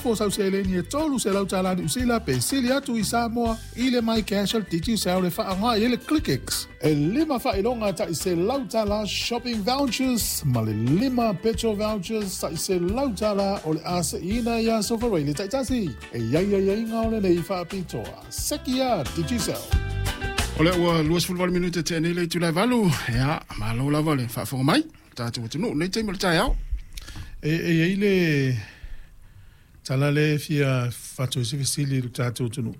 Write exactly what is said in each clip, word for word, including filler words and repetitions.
Fo sau seleni e tolu selau tālā Niu Sila pe sili atu i Samoa i le MyCash o le Digicel e faaaoga i ai le ClickX. E lima faailoga ta'i selau tālā shopping vouchers ma le lima petrol vouchers ta'i selau tālā o le a se'iina ia Sofareile le ta'itasi. E i ai aiaiga o lenei faapitoa. Seki ia Digicel. O lea ua luasefulu valu minute tea nei le itula e valu. Ia, malo lava le faafofoga mai tatou atunuu i lenei taimi o le taeao. E e i ai le tala lea e fia fatu ai se fesili i lo tatou atunuu.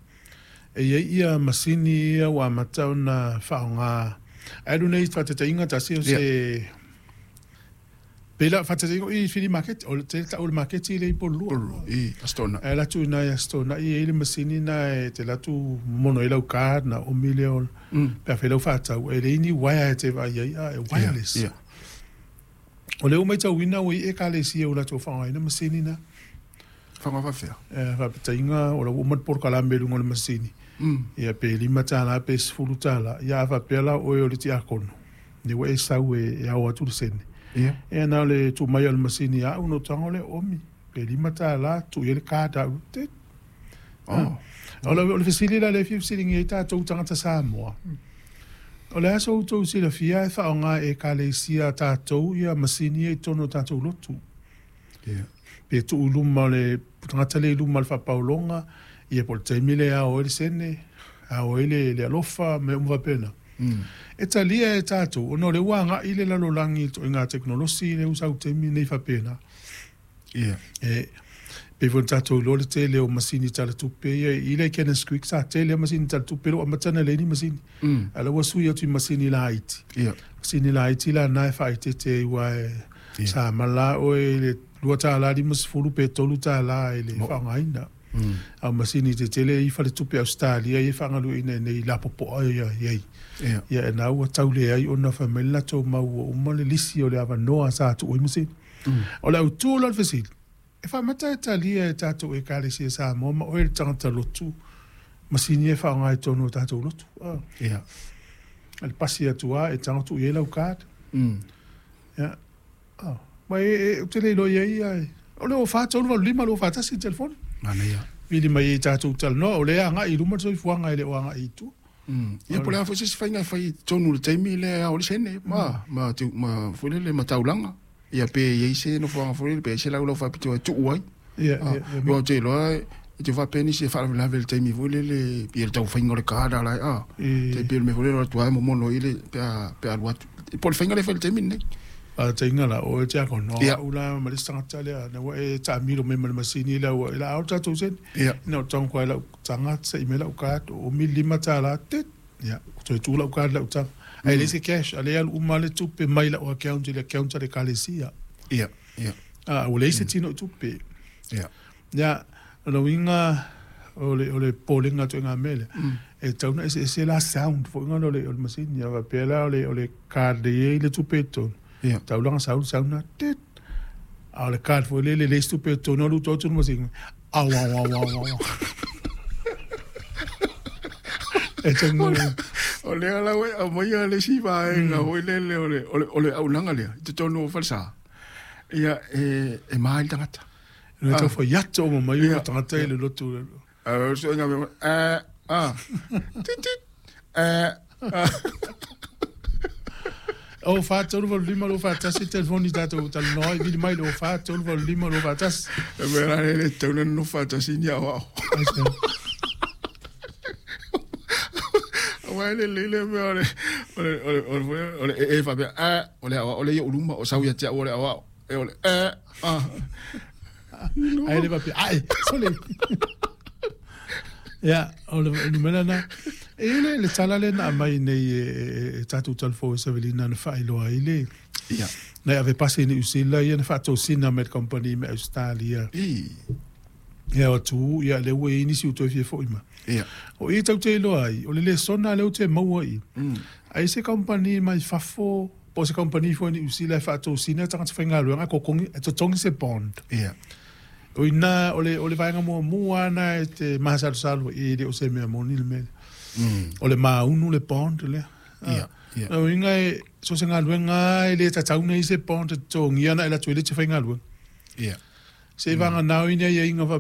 E i ai ia masini ia ua amata ona faaaoga. Ae alu nei faataitaiga tasi o se pei la faataitaiga o i Fili Market, o le tele tau o le maketi lea i Pololua. Pololua, i Aso Toonai. Ae alu atu i ina i Aso Toonai e i ai le masini lena e te alu atu momono ai lau card ona omi lea o pe a fai lau faatau, e leai ni uaea e te vaai ai, a e wireless. Ia, ia. O lea ua matauina ua i ai Ekalesia ua latou faaaogaina masini na. Faaaoga faafefea? E faapetaiga o la ua uma le polokalame i luga o le masini. Ia pe lima tālā pe sefulu tālā. Ia a faapea la o oe o le tiakono, lea ua e sau e, e ao atu le sene. Ia. Ia na o le tuu mai o le masini ia au ona ou tago lea omi. Pe lima tālā, tuu i ai le card au. Tit. Oh. O le, o le fesili la lea e fia fesiligia ai tatou tagata Samoa. O le a so outou silafia e faaaoga e Ekalesia a tatou ia masini ia i totonu o tatou lotu? Ia. Pe tuu i luma o le tagata lea i luma o le faapaologa, ia po o le taimi lea e ao ai le sene, ao ai le, le alofa, mea uma faapena. E talia e tatou, ona o lea ua agai le lalolagi i le ituaiga tekonolosi lea ua sau i le taimi lenei faapena. Ia. E pei foi ona tatou iloa le tele o masini talatupe ia i le Kenneth Creek sa tele lava masini talatupe lea ua amata ona leai ni masini. Mm. A o la ua sui atu i masini laiti. Ia. Masini laiti la na e faaeteete ai aua e Ia. sa mala oe i le lua tālā limasefulu pe tolu tālā i le faaaogaina. Mm. A o masini tetele i faletupe Ausetalia ia e faagalueaiina i inei lapopoa ia i ai. Ia. Ia e na ua tau leai ona fai mai le latou mau ua uma le lisi o le avanoa sa tuu ai masini. Mm. O le autu la o le fesili, e faamata e talia e tatou Ekalesia Samoa ma oe le tagata lotu masini e faaaoga i totonu o tatou lotu. Ah. Ia. Le pasi atu lava e tago tuu i ai lau card. Mm. Ia. Ah. Ma e, e, ou te le iloa i ai ia, o le fa tolu valu lima lua fa tasi le telefoni. Manaia. Vili mai ai tatou talanoa, o lea e agai i luma le soifuaga e le o agai i tua. Mm. Ia po o le a foi se isi faiga e fai i totonu i le taimi lea e ao ai le sene ma, ma, tiu, ma, foi lele, ma taulaga. Ia pe i ai se nofoaga foi lele, pe i ai se laulau faapitoa e tuu ai. Ia, Ah, ia, ia. aua ou te iloa e te faapea nisi e faalavelave i le taimi foi lele, ia le taumafaiga o le card ala ah. E Tai pei o le mea foi lele o atu lava e momono ai le pe a, pe a alu atu. Po o le faiga lea e fai i le taimi lenei. Faataitaiga la, o oe tiakono, Ia. au la ma le isi tagata lea, na ua e taamilo mai ma le masini lea ua e la ao le tatou sene. Ia. Ina o tago koa i lau taga, se'i mai lau card, o umi le lima tālā, tit. Ia, toe tuu lau card i lau taga. Ae leai se cash, a lea e alu uma lava le tupe mai lau account i le account a le Ekalesia. Ia, ia. A, ua leai se tino i tupe. Ia. Ia, o lona uiga, o le, o le popolega atu i ngā mea lea, e tatau ona eseese la sound foi ngana o le, o le masini. A faapea la o le, o le card e i ai le tupe i totonu, Ia. taulaga sau le sound na, tit. A o le card foi lele e leai se tupe i totonu, alu atu atu le masini, au, au, au, au, au, au. E tago O lea la ua e aumaia le isi vaega foi lele o le, o le, o le auaunaga lea i totonu o falesa. Ia, e, e ma ai le tagata. Le tau fai atu o mai Ia. o tagata i le lotu. A o le suiga mea, a, a, tit, tit, a, a. O fa tolu valu lima lua fa tasi telefoni tatou talanoa ai vili mai le o fa tolu valu lima lua fa tasi. E mea la le le tatau ona nonofo faatasi ni aoao. Aua e lelei le mea o le, o le, o le, o le, o le ee faapea, a, o le aoao lea i ou luma, o sau ia te au o le aoao. E o le, a, a. Ai le faapea, ai, sole. Ia, o le numera na. E i le, le tala lea na aumai nei e, e, e tatou talafou e Savelina na faailoa ai le. Ia. Na e ave pasi i Niu Sila ia na faatosina mai le company mai Australia. I. Ia o atu, ia lea ua i ai nisi ua toe fia fo'i mai. Ia. O i tau te iloa ai, o le lesona lea ou te maua i. Mm. Ai se company mai fafo, po o se company foi Niu Sila e faatosina tagata faigaluega e kokogi, e totogi se bond. Ia. O ina, o le, o le vaega muamua na e te masalosalo i le o se mea moni le mea. Mm. O le maunu le bond lea. Ia, ia. O uiga e, so se galuega e le tatau nei se bond e totogia na e latou i le te faigaluega. Ia. Se vanga nau ina ia inga fa